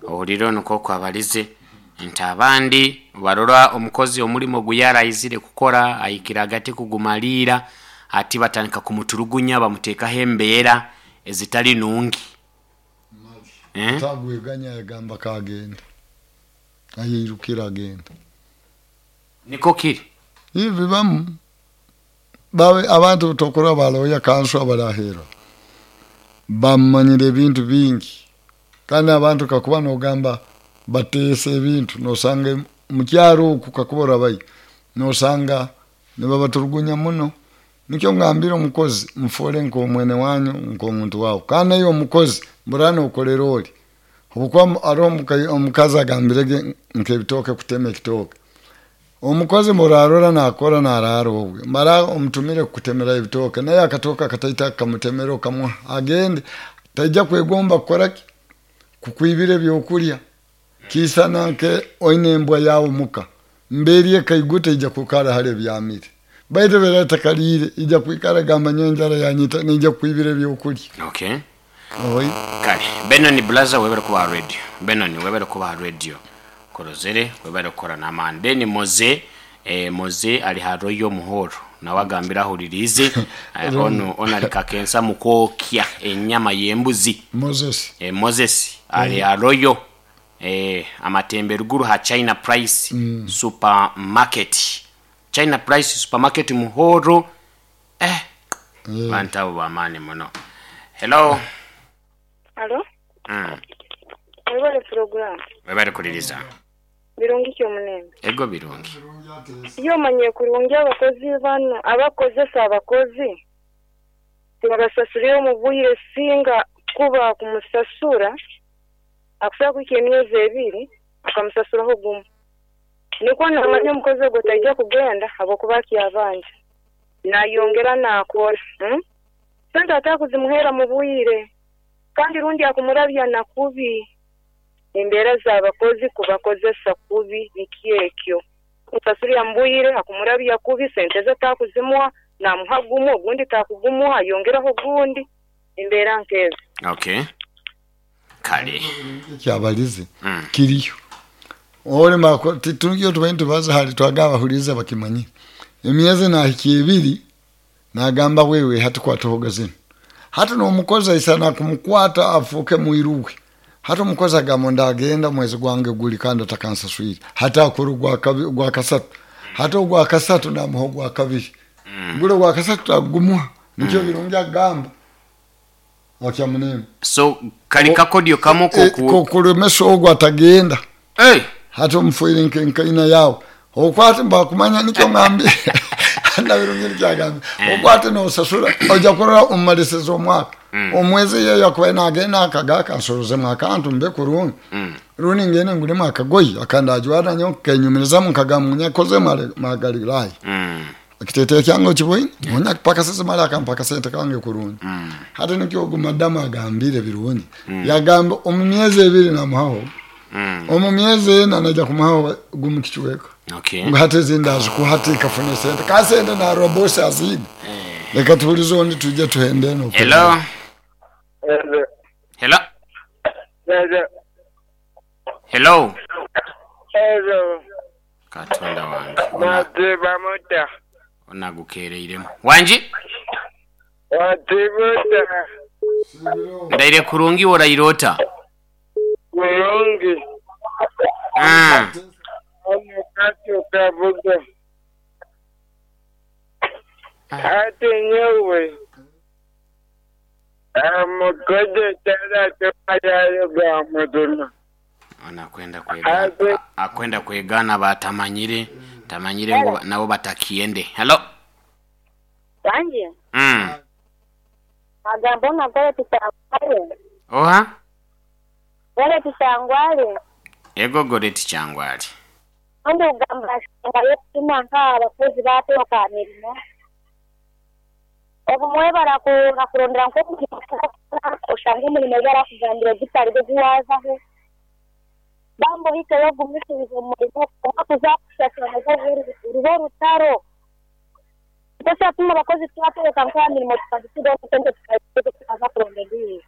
Ohulire onu nk'oku abalize nti abandi barora omukozi omulimo ogu yaraizire kukora ahikire hagati kugumaliira ati batandika kumuturugunya bamuteekaho embeera ezitali nungi. Eh? Atagweganya yagamba kagenda ayeirukira agenda. Niko kiri. Ibi bibamu bawe abantu tokora baloya kansu abarahera bamanyire ebintu bingi, kandi abantu kakuba nogamba bateesa ebintu nosanga mukyaro oku kakuba orabayo nosanga nibabaturugunya muno. Nikyo ngambire omukozi mufoole nk'omwene wanyu nk'omuntu wawe, kandi naye omukozi mbura nokorera ori habwokuba haroho omukazi agambirege nk'ebitooke kutema ekitooke, omukozi murarora nakora narara obwe mara omutumire kukutemera ebitooke, naye akatooke akataito akamutemera okamuha agende, taija kwegomba kukoraki kukwibira ebyokurya. Kiisana nke oine embwa yawe muka mbeeri ekaiguta ija kwikara hali ebyamire, baitu obu etakaliire ija kwikara egamba nyowe enjara yanyita neija kukwibira ebyokurya. Okay. Oi. Kale Benoni Blaza webale kuba aha radio. Benoni webale kuba aha radio. Nkurozere webale kukora n'amaani. Then Moze eh, Moze ali ha Royal Muhoro nawe agambire ahuririize eh, onu onu ali Kakensa mu kwokya enyama y'embuzi. Moses. Eh, Moses ali ha Royal eh, Amatembe ruguru ha China Price Supermarket. China Price Supermarket Muhoro eh, bantu abo b'amaani muno. Hello. Alo, Mwebale pulogulaamu. Webale kuliriza. Birungi ki omulembe? Ego birungi. Ye omanyire kurungi abakozi bano abakozesa abakozi tibabasasulira omu bwire singa kuba kumusasura akusobora kuhika emyezi ebiri akamusasuraho gumu. Nikwo namanya omukozi ogwo taija kugenda habwokuba akyabanja. Nayongera nakora. Sente atakuzimuheera mu bwire kandi rundi akumurabya na kubi. Embeera z'abakozi kubakozesa kubi nikyo ekyo. Musasulira mu bwire akumurabya kubi sente ze takuzimuha namuha gumu ogundi takugumuha ayongeraho ogundi embeera nk'ezo. Okay. Kale. Ekyabalize kiriyo olema titugyo tubaire nitubaza hali twagamba bahuliiriza bakimanyire. Emyezi nahikya ebiri nagamba wewe hati kwatahoga zinu. Hati n'omukozi aisana kumukwata afuuke mwiru we. Hati omukozi agamba ndagenda mwezi gwange guli kandi atakansaswire. Hati akora ogwa kasatu. Hati ogwa kasatu namuha ogwa kabiri. Gule ogwa kasatu tagumuha. Nikyo Birungi agamba. Wakyamunene. So kali kakodyo kamu kokulemesa ogwo atagenda. Hey. Hati omufuire nkaina yawe. Okwate mbakumanya nikyo ngambye. Na Birungi nikyagambye. Okwate nosasura oja kurora omumalisiza omwaka. Omwezi yeyo akubaire nagenda akagaka nsorozemu akantu mbe kurungi. Rundi ngende ngulemu akagoye akandajwara nyowe kenyumirizamu nkagamba nyakoze magalilaya. Ekiteteeyi kyange okiboine onyakipakasize mara akampa akasente kange kurungi. Hati nikyo ogu madamu agambire Birungi. Yagamba omu myezi ebiri namuhaho. Omu myezi ena naija kumuhaho gumu kicweka. Okay. Ngu hati ezindi azikuha hati kafune sente. Ka sente narora bosi aziine. Leka tuhulize ondi twije tuhende eno. Hello. Hello. Hello. Hello. Hello. Katonda wange. Mwaziba muta. Ono agukeereiremu. Wangi? Waziba ota? Ndaire kurungi oraire ota? Kurungi. Ono Kato Kabuga. Ate nyowe omukozi tara tumayayo ga muzima. Ono akwenda kwegana, akwenda kwegana batamanyire, tamanyire ngu nabo batakiende. Hello. Wangi? Agamba ono Goreti Kyangwale. Oha? Goreti Kyangwale. Ego Goreti Kyangwale. Ondi kugamba nsonga y'okutuma nk'abakozi baatooka aha mirimo. Obumwe barakurondera nk'omurimo gw'okukora oshanga omurimo ogu barakugambira gutari gwo ogu waazaho. Bambi ohikeyo ogumisirize omu murimo kwonka kuza kukushashura nabwo ruba orutaro. Nikyo kyatuma abakozi twatoroka nk'aha mirimo tukagisigaho sente tukaza kuronda endiijo.